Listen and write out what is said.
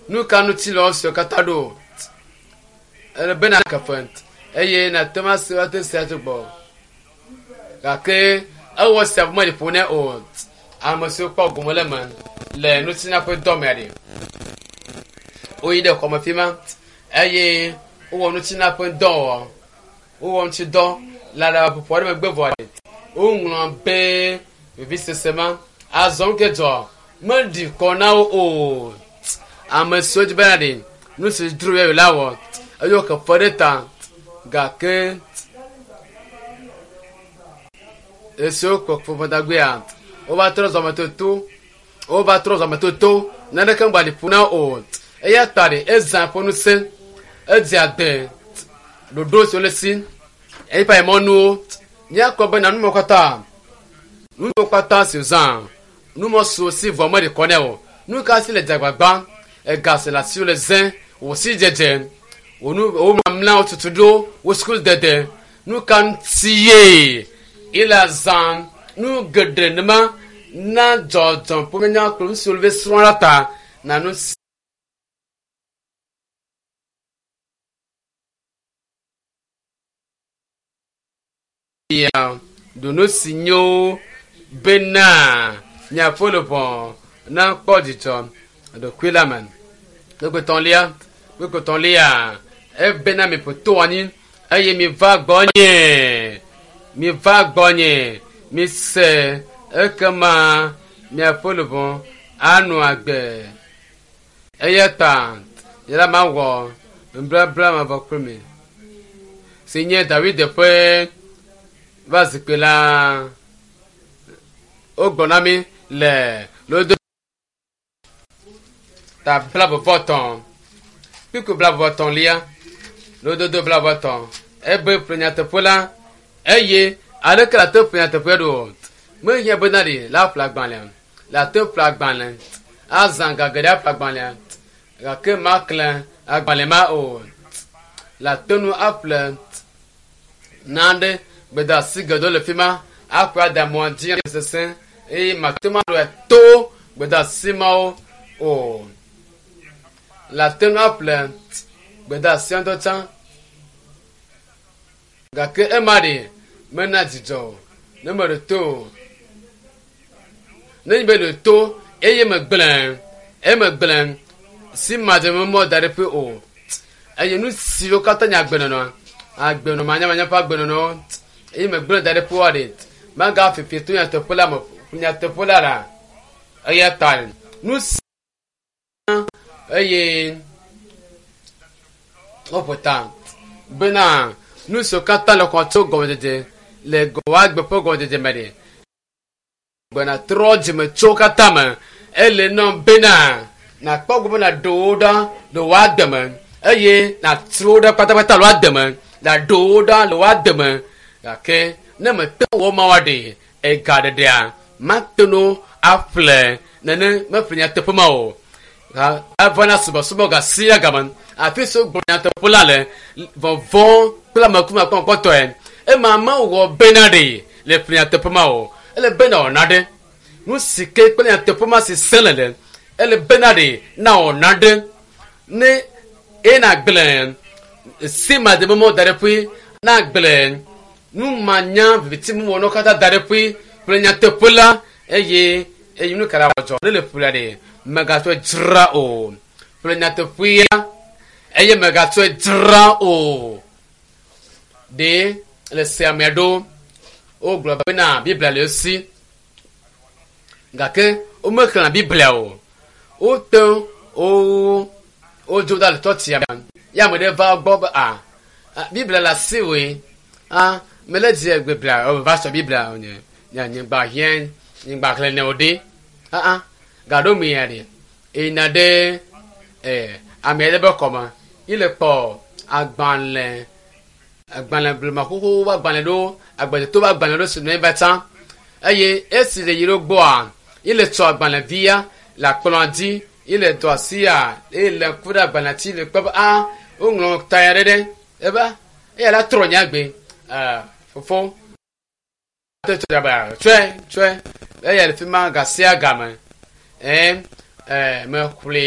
Nu ka ŋuti le esiawo katã ɖo? Ele be nàke fe eye nàte ŋu ase ate sia tso gbɔ. Gake ewɔ esia vɔ meɖi ƒo nɛ o. Ame siwo kpɔ gome le eme le ŋutinya ƒe dɔ mea ɖe, woyi ɖe xɔme fi ma eye wowɔ ŋutinya ƒe dɔ wɔ. Wowɔ ŋuti dɔ le aɖabaƒoƒo aɖe megbe vɔ ɖe, woŋlɔ be vivisese ma azɔ nu ke dzɔ meɖi kɔ na wo o. Ame siwo dzi bena ɖe nu si dzro yewo la wɔ eye woke fe ɖe ta gake esiwo kpɔ ƒomedagbea wova trɔ zɔmetoto wova trɔ zɔmetoto naneke ŋgba ɖi ƒo na wo o. Eya ta ɖe ezã eƒe ŋusẽ edze ade ɖoɖo siwo le si eƒe mɔnuwo míakpɔ bena numɔ katã numɔ katã si wòzã numɔ siwo si vɔ meɖi kɔ nɛ o nu ka si le dzagbagba ega si le asiwò le zẽ wò si dzedze wò nu wò mamla wò tutuɖo wò suku dede nu ka ŋuti ye ile azã nu geɖe nema na dzɔdzɔm ƒomenya kple nu siwo le srɔ̃ la ta na nu sia ɖo nu si nyo bena miaƒe luʋɔ nakpɔ dzidzɔ ɖokui la me. Kpekpetɔ̃lia, kpekpetɔ̃lia, ebena miƒo to anyi eye miva gbɔnye, miva gbɔnye, mise ekema miaƒe luʋɔ anɔ agbe. Eya ta nye la mawɔ nubabla mavɔ kple mi si nye Dawid ƒe va zikpui la. Wogblɔ na mi le lodo ta blaeve-vɔ-etɔ̃ kpukpui blaeve-vɔ-etɔ̃lia lododo blaeve-vɔ-etɔ̃ ebe ƒle nyateƒe la eye aleke la te ƒle nyateƒe ɖo? Mehiã bena ɖe la ƒle agbalẽ la te ƒle agbalẽ azã ga geɖe aƒle agbalẽa gake maklẽ agbalẽ ma o. Le ate ŋu aƒle nane gbedeasi geɖewo le fi ma aƒe ada mɔa dzi sesẽ eye mate ŋu aɖo to gbedeasi mawo o. Le ate ŋu aƒle gbedeasia ŋutɔ tsã gake ema ɖe mena dzidzɔ o ne meɖo to o. Ne nye be ɖo to eye megblẽ emegblẽ si madze mɔ da ɖe ƒe o eye nu siwo katã nye agbenɔnɔ agbenɔ manyamanya ƒe agbenɔnɔ eye megblẽ da ɖe ƒe wa ɖe magafifi to nyateƒe la me nyateƒe la la eya ta nu si eye woƒo ta bena nu siwo katã le xɔ tso gɔmedzedze le wòagbe ƒe gɔmedzedze me ɖe gbena trɔ dzime tso katã me ele nɔ bena nakpɔ gbɔ be nàɖo wo ɖa le wò agbe me eye nàtro wo ɖa kpatakpata le wò agbe me nàɖo wo ɖa le wò agbe me gake ne mete wɔ ma wa ɖe ega ɖeɖea mate ŋu aƒle nene meƒle nyateƒe ma o eva na subɔsubɔ ga sia game afi si wogblɔ nyateƒe la le vɔvɔ̃ kple amekumakpɔkpɔtɔe ema mewɔ bena ɖe le ƒle nyateƒe ma o ele bena wòna ɖe nu si ke kple nyateƒe ma si sẽ le le ele bena ɖe na wòna ɖe ne eye nagblẽ si madememɔ da ɖe ƒui nagblẽ numanya viviti mewɔnawo katã da ɖe ƒui kple nyateƒe la eye eye nu ka la wɔdzɔ ne le ƒlea ɖe mègatsɔe dzra o ƒle nyateƒea eye mègatsɔe dzra o ɖe le sea me ɖo wogblɔ bena Biblia le esi gake womexlẽa Biblia o wote wo wodzo da le tsɔtsia me ya ame ɖe va gbɔ be a Biblia le asiwòe a mele dzi Biblia o va sɔ Biblia o nye nye nyigba hiã nyigba xlẽ ne o ɖe aa gaɖo mi ya ɖe eyina ɖe ee ame aɖe be xɔme yi le kpɔ agbalẽ agbalẽ blema xoxo ƒe agbalẽ ɖewo agbledeto ƒe agbalẽ ɖewo si nɔ anyi va tsã eye esi le yi ɖo gbɔa yi le tsɔ agbalẽvia le akplɔa dzi yi le dɔ asia eye le ŋku ɖe agbalẽa dzi le kpɔ be a woŋlɔ ta ya ɖe ɖe ebe eya la trɔ nye agbe ee fofo tsɔe tsɔe eya le fi ma ga sia game ee ee mexlẽe.